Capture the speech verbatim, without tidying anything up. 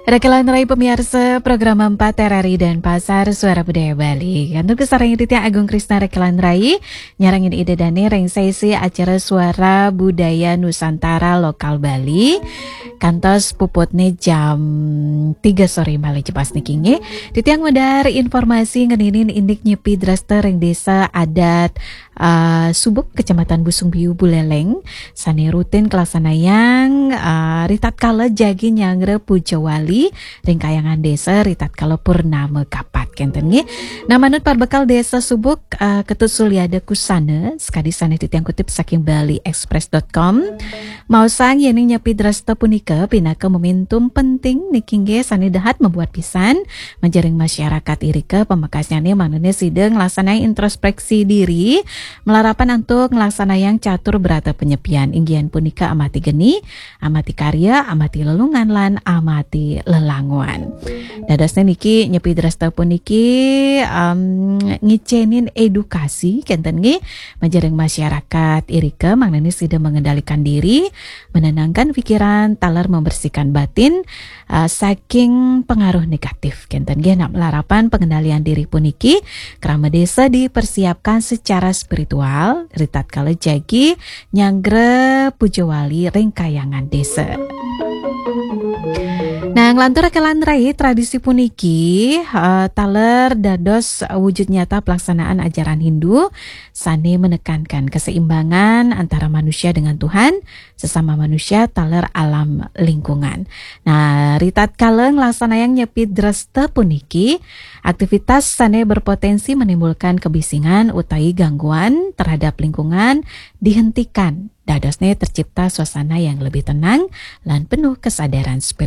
Rekelan Rai pemiarsa program empat R R I Denpasar, Suara Budaya Bali. Kantun kasarengin titiang Agung Krisna Rekelan Rai, nyarengin Ida Dane ring sesi acara Suara Budaya Nusantara Lokal Bali. Kantos puputne jam tiga sore malih jepas niki nggih. Titiang medar informasi ngeninin indik nyepi dresta ring desa adat ah, Subuk, Kecamatan Busung Biu, Buleleng, sane rutin kalaksanayang, ah, ritatkala jagi nyanggra puja wali ring kayangan desa ritatkala purnama kapat kenten nggih. Nah, manut parbekal Desa Subuk, ah, Ketut Suliada Kusana, sakadi sane titiang kutip saking bali express dot com, maosang yening nyepi dresta punika pinaka momentum penting niki nggih sane dahat mabuat pisan majeng ring masyarakat irika, pamekasnyane manune sida nglaksanayang introspeksi diri, malarapan antuk nglaksanayang catur brata penyepian, inggih punika amati geni, amati karya, amati lelungan, lan amati lelanguan. Dadosne niki nyepi dresta puniki, em, ngicenin edukasi kenten nggih majeng ring masyarakat irika, manune sida mengendalikan diri, menenangkan pikiran, taler membersihkan batin, ah, saking pengaruh negatif kenten nggih. Nah, malarapan pengendalian diri puniki, krama desa dipersiapkan secara spiritual ritatkala jagi nyanggra puja wali ring kayangan desa. Nah, nglantur Rekelan Rai, tradisi puniki, eh, taler dados wujud nyata pelaksanaan ajaran Hindu sane menekankan keseimbangan antara manusia dengan Tuhan, sesama manusia, taler alam lingkungan. Nah, ritatkala nglaksanayang nyepi dresta puniki, aktivitas sane berpotensi menimbulkan kebisingan utawi gangguan terhadap lingkungan dihentikan. Dadosne tercipta suasana yang lebih tenang lan penuh kesadaran spiritual.